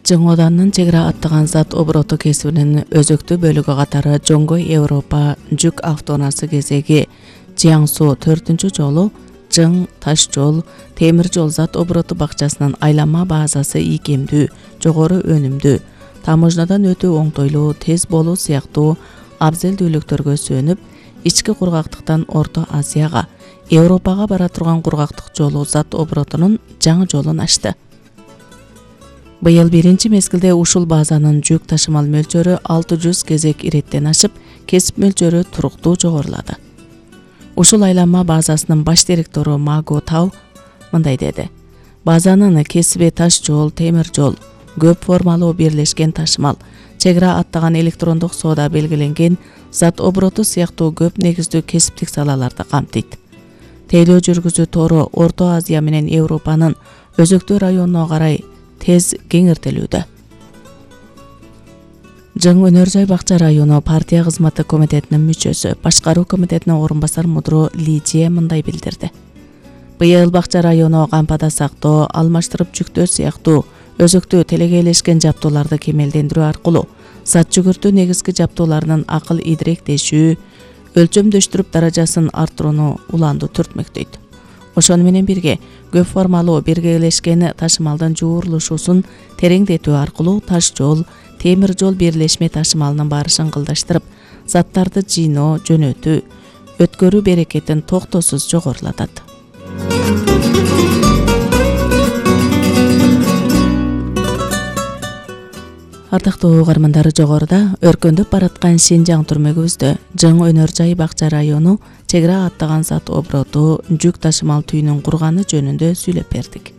Жың Оданынын чек ара аттаган зат обороту кесибинин өзөктүү бөлүгү катары Жоңгой Европа жүк автоунаасы кезеги Жиаңсу 4 жолу Жың таш жол, темир жол зат обороту бакчасынын айланма базасы ийкемдүү, жогору өнүмдүү, таможнядан өтүү оңтойлуу, тез болуу сыяктуу абзелдүүлүктөргө сүйөнүп, ички кургактыктан Орто Азияга, Европага бара турган кургактык жолу зат оборотунун жаңы жолун ачты. Быйыл биринчи мезгилде ушул базанын жүк ташымал мөлчөрү 600 кезек иреттен ашып, кесип мөлчөрү туруктуу жогорулады. Ушул айланма базасынын баш директору Маго Тау мындай деди: базанын кесиби таш жол, темир жол, көп формалуу бирлешкен ташымал, чек ара аттаган электрондук соода белгиленген зат обороту сыяктуу көп негиздүү кесиптик салаларды камтыйт. Тейлөө жүргүзүү тору Орто Азия менен Европанын өзөктүү районуна карай тез кеңиртилүүдө. Жың Өнөр жай бакча району партия кызматы комитетинин мүчөсү, башкаруу комитетинин орун басар мудру Лидия мындай билдирди: быйыл бакча району кампада сактоо, алмаштырып жүктөө сыяктуу өзөктүү телегейлешкен жаптууларды кемелдендирүү аркылуу зат жүгүртүү негизги жаптууларынын акыл идиректешүү, өлчөмдөштүрүп даражасын арттырууну уланду түртмөктөйт. Ошону менен бирге көп формалуу биргелешкен ташымалдын жуурулушуусун тереңдетүү аркылуу таш жол, темир жол бирлешме ташымалынын барышын кылдаштырып, заттарды жыйноо, жөнөтүү, өткөрүү берекетин токтосуз жогорулатат. Ардактуу угармандар, жогоруда өркөндөп бараткан Шинжаң түрмөгүбүздө Жың Өнөр жай бакча району чек ара аттаган зат обороту жүк ташымал түйүнүн курганы жөнүндө сүйлөп бердик.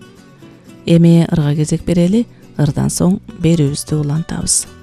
Эми ырга кезек берели, ырдан соң берүүбүздү улантабыз.